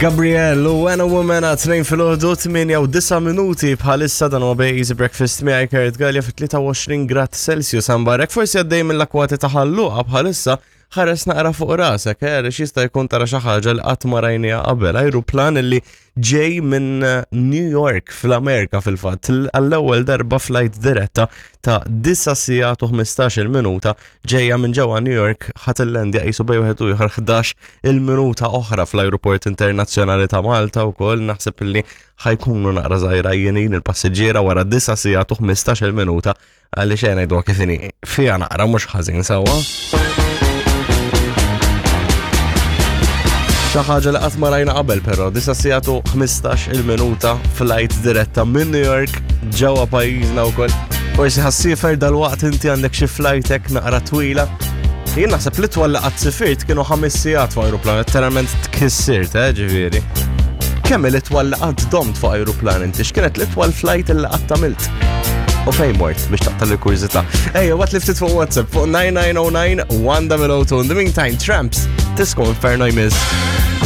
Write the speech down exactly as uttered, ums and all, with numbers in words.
Gabriel u When a Woman għat tnejn filgħodu, tmienja u disa' minuti bħalissa. Dan huwa Easy Breakfast miegħi Kurt Gallia fi tlieta u għoxrin grad Celsius ambarek. Forsi għaddej mill-akwati ta' Ħal Luqa bħalissa, ħares naqra fuq rasek, eh, għaliex jista' jkun tara xi ħaġa li qatt ma rajniha qabel. Ajruplan li ġej minn eh, New York fl-Amerika fil-fatt, għall-ewwel darba flight diretta ta' disa' sigħat u ħmistax-il minuta ġejja minn ġewwa New York, ħa tillendja qisu bejn wieħed u ieħor ħdax il-minuta oħra fl-Ajruport Internazzjonali ta' Malta wkoll. Naħseb li ħa jkunu naqra żgħira jenin il-passiġġiera wara disa' sigħat u ħmistax-il minuta, għaliex xejn ngħidu kif inhi fiha naqra mhux ħażin sewwa. Xi ħaġa li qatt ma rajna qabel però, disa' sigħat u ħmistax il-minuta flight diretta minn New York ġewwa pajjiżna wkoll. Forsi ħa ssiefer dal-waqt, inti għandek xi flight hekk naqra twila. Jien naħseb li twal li qatt sifirt kienu ħames sigħat fuq ajruplan, letteralment tkissirt, eh, ġifieri. Kemm l-itwal li qatt domt fuq ajruplan inti? X'kienet l-itwal flight li qatt għamilt? U fejn mort biex taqta' l-kurżità? Ejja, what li ftit fuq WhatsApp fuq nine nine oh nine one oh oh two. In the meantime, Tramps, Disco Inferno jmiss.